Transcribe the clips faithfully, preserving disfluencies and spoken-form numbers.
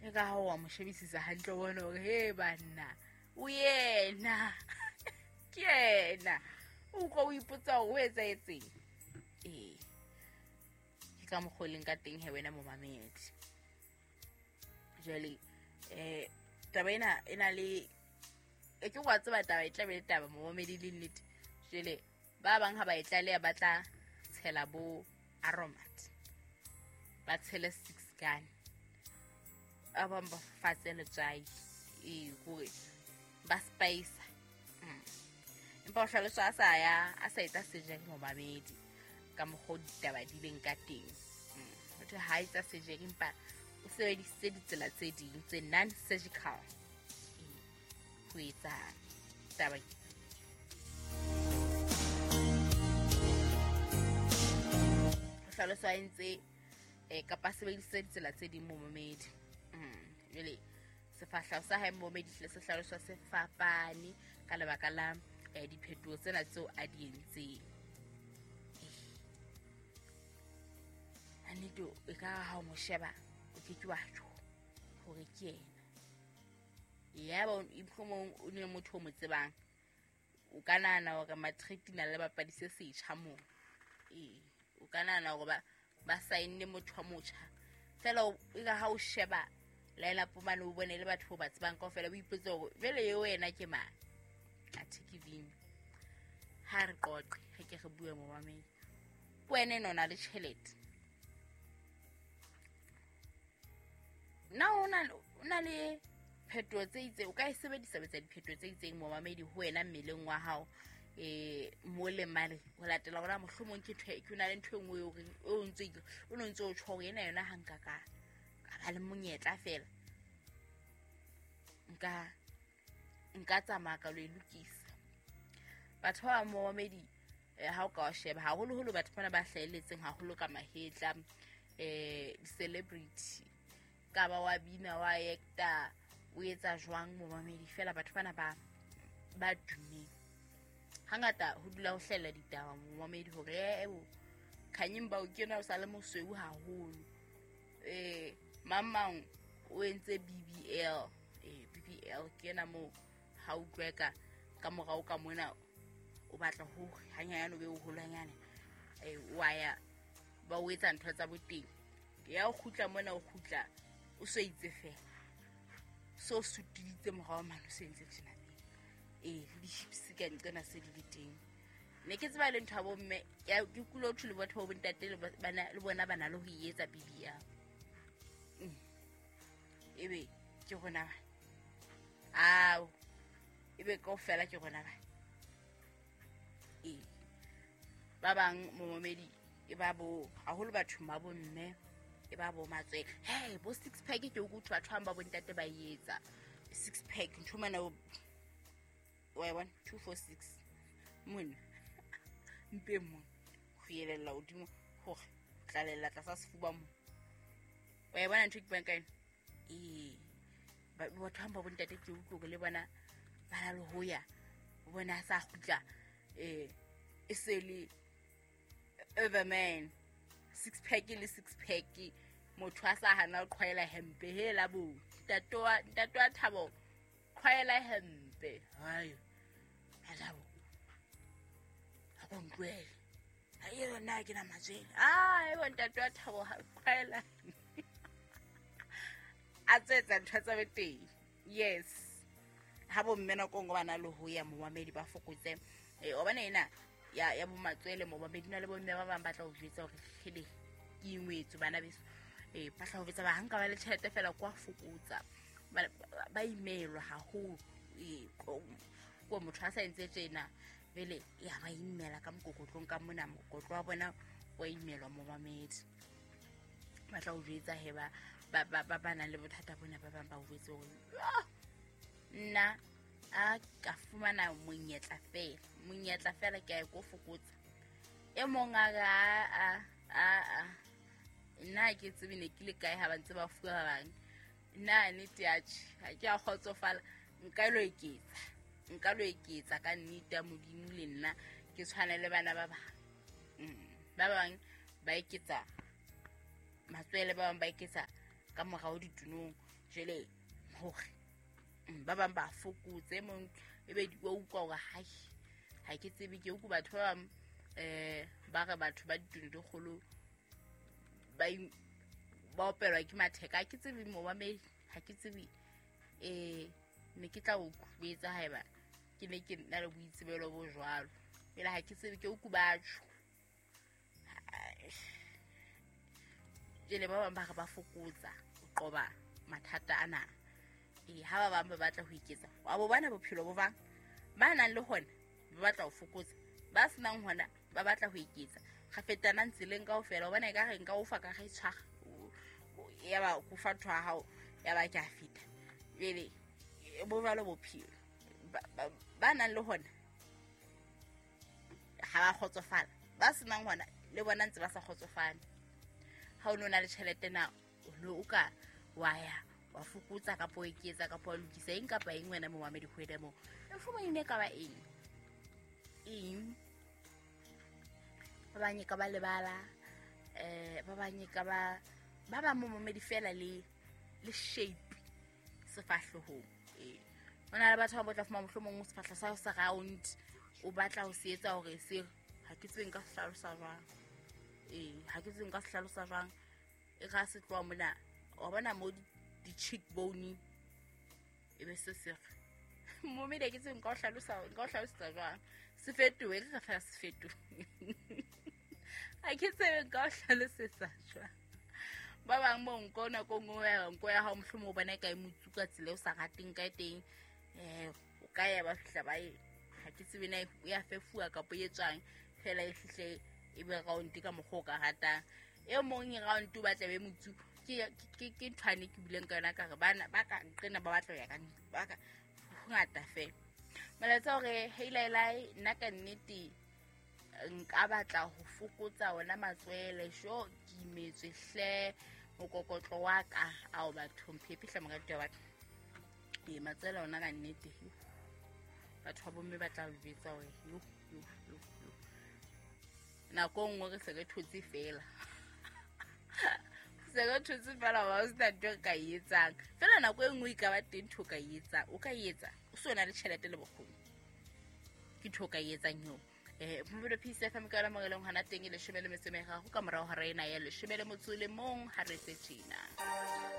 E ka ha wa mo shebisisa hantle o bone hore he banna o yena ke yena. O utlwa o ipotsa hore o etsahetseng. Ee, ke ka mokgwa o leng ka teng he wena momamedi. Jwale eh taba ena e na le e ke wa tseba taba e tla be le taba momamedi le nnete. Jwale ba bang ha ba e tlaleha ba tla tshela bo aromat, ba tshele six gun, ba bang ba fafatse letswai, ee hore ba spice. Empa o hlaloswa a sa ya a sa etsa surgery momamedi ka mokgwa o ditaba di leng ka teng. Motho ha etsa surgery empa o sebedisitse ditsela tse ding tse non-surgical ho etsa taba. O hlaloswa a entse kapa a sebedisitse ditsela tse ding momamedi. Jwale sefahleho sa hae momamedi hle se hlaloswa se fapane ka lebaka la diphetoho tsena tseo a di entseng. Nnete e ka ha o mo sheba o ke ke wa tjho hore ke yena. Yaba mohlomong o ne motho o mo tsebang, o ka nahana hore matric na le bapadi se setjha moo. Ee, o ka nahana hore ba ba saenne motho wa motjha. Feela e ka ha o sheba line-up mane o bone le batho ba tsebang kaofela, o ipotse hore jwale eo yena ke mang. Athe ke Vini. Ha re qoqe, re ke re bue momamedi. Ke wena ena o na le tjhelete. Na o na le phetoho tse itseng, o ka e sebedisa ho etsa diphetoho tse itseng momamedi ho wena mmeleng wa hao, eh mo le mane ho latela hore mohlomong ke ntho ke na le ntho e nngwe eo reng o ntse o no ntse o tjho hore ena yona ha nka ka ka ba le monyetla fela nka nka tsamaya ka lo e lokisa. Batho ba momamedi ha o ka wa sheba haholoholo batho bana ba hlahelletseng haholo ka mahetla, eh di-celebrity ka ba wa bina wa actor o etsa jwang momamedi, fela batho bana ba ba tummeng hangata ho dula ho hlahella ditaba momamedi hore eh bo Khanyeng bao ke yena o sa le mosweu haholo, eh mang mang o entse B B L, eh B B L ke yena moo ha utlwe ka ka morao ka mona o batla ho hanyane o be o holwanyane, eh wa ya ba o etsa ntho tsa boteng ya o kgutla mona o kgutla o so itse fela so sutiditse morao mane o se entse tjena. Ee, le di-hips ka nqena se di le teng. Ne ke tseba le ntho ya bomme, ke kulo thwe le batho ba bontate le bana le bona ba na le ho e etsa B B L. Ebe ke rona ba. Ao, ebe kaofela ke rona ba. Ee, ba bang momamedi e ba bo haholo bathong ba bomme e ba bo matswele. Hey, bo six pack ke o utlwa batho ba bontate ba e etsa. Six pack ntho mana o wa bona two four six mona mpe mona ho yelella hodimo hore tlalella tlasa sefuba mo. Wa e bona ntho ke buang ka yona? Ee, batho ba bontate ke utlwe hore le bona ba na le ho ya o bona a sa kgutla eh e se le Everman six pack le six pack motho a sa hana ho qhwaela hempe hela bo ntate wa ntate wa Thabo qhwaela hempe hayo alabo ha go ntwele ha e nna ke na matswele ah e bo ntate wa Thabo ha qhwaela a tsetsa ntho tsa beteng. Yes, ha bo mme nako ngwe ba na le ho ya momamedi ba fokotse eh o bana ena ya ya bo matswele momamedi na le bo mme ba bang ba tla o jwetsa hore kgele ke ingwetso bana beso eh ba tla ho betsa ba hanka ba le tjhelete fela kwa fokotsa ba imelwa haholo eh ko motho a sa entse tjena vele ya ba imela ka mokokotlong ka mona mokokotlo wa bona wa imelwa momamedi ba tla o jwetsa he ba ba ba ba nang le bothata bona ba bang ba o jwetse hore nna a ka fumana monyetla fela monyetla fela ke a ko fokotsa e mong a a a a nna ke tsebe ne ke le kae ha ba ntse ba fuwa ba bang nna nnete ya tjhe ha ke a kgotsofala nka lo eketsa nka lo eketsa ka nnete ya Modimo le nna ke tshwane le bana ba bang. Ba bang ba eketsa matswele, ba bang ba eketsa ka morao ditunong. Jwale hore ba bang ba fokotse mong ebe di wa utlwa hore hai ha ke tsebe ke utlwa batho ba bang eh ba re batho ba ditulo di kgolo ba ba opelwa ke matheka. Ha ke tsebe momamedi, ha ke tsebe eh ne ke tla o etsa haeba ke ne ke na le boitsebelo bo jwalo. Pele ha ke tsebe ke utlwa batho jele ba bang ba re ba fokotsa ho qoba mathata ana. E ha ba bang ba batla ho iketsa wa bo bona bophelo bo bang ba nang le hona ba batla ho fokotsa, ba senang hona ba batla ho iketsa. Ga fetana tseleng kaofela o bona e ka re nka o fa ka re tshwara ya ba go fa ntho ya hao ya ba ke a feta. Jwale bo jwalo bophelo ba nang le hona ha ba kgotsofala, ba senang hona le bona ntse ba sa kgotsofale. Ha o no na le tjhelete na o ne o ka wa ya wa fokotsa kapa o eketsa kapa wa lokisa eng kapa eng wena momamedi ho ena moo mohlomong e ne ka ba eng eng ba bang e ka ba lebala eh ba bang e ka ba ba bang momamedi fela le le shape sefahlohong. Eh hona le batho ba botla fuma mohlomong sefahlo sa sa round o batla ho se etsa hore se ha ke tsebe nka se hlalosa jwang. Eh ha ke tsebe nka se hlalosa jwang e ga se tloha mona wa bona mo di cheekbone e be se se momedi ke tsebe nka o hlalosa nka o hlalosetsa jwang se fetohe re fela se fetohe ha ke tsebe nka o hlalosetsa jwang. Ba bang mo nko nako nngwe ya nko ya hao mohlomong o bona e ka e motsuka tsela o sa rateng ka teng eh o ka ya ba fihla ba e ha ke tsebe na ya fefuwa kapa e etswang fela e fihle e be round ka mokgwa o ka ratang. E mong e round o batla be motsu ke ke ke nthwane ke bileng ka yona ka re bana ba ka nqena ba batla ho ya ka ba ka ho ngata fela. Molaetsa hore hey lai nna ka nnete nka batla ho fokotsa ona matswele sho ke imetswe hle mokokotlo wa ka ao batho mphepe hle morati wa batho. E matswele ona ka nnete batho ba bomme ba tla o jwetsa hore yo yo yo yo nako nngwe re se re thotse fela se re thotse fela wa o sena ntho e ka e etsang fela nako e nngwe e ka ba teng ntho o ka e etsang o ka e etsa o se o na le tjhelete le bokgoni ke ntho o ka e etsang eo. Eh Mobile Peace F M ka yona mo eleng hona teng e leshome le metso e meraro ka morao hora ena ya leshome le motso le mong ha re tse tjena.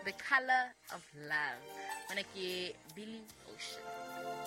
The Color of Love mona ke Billy Ocean.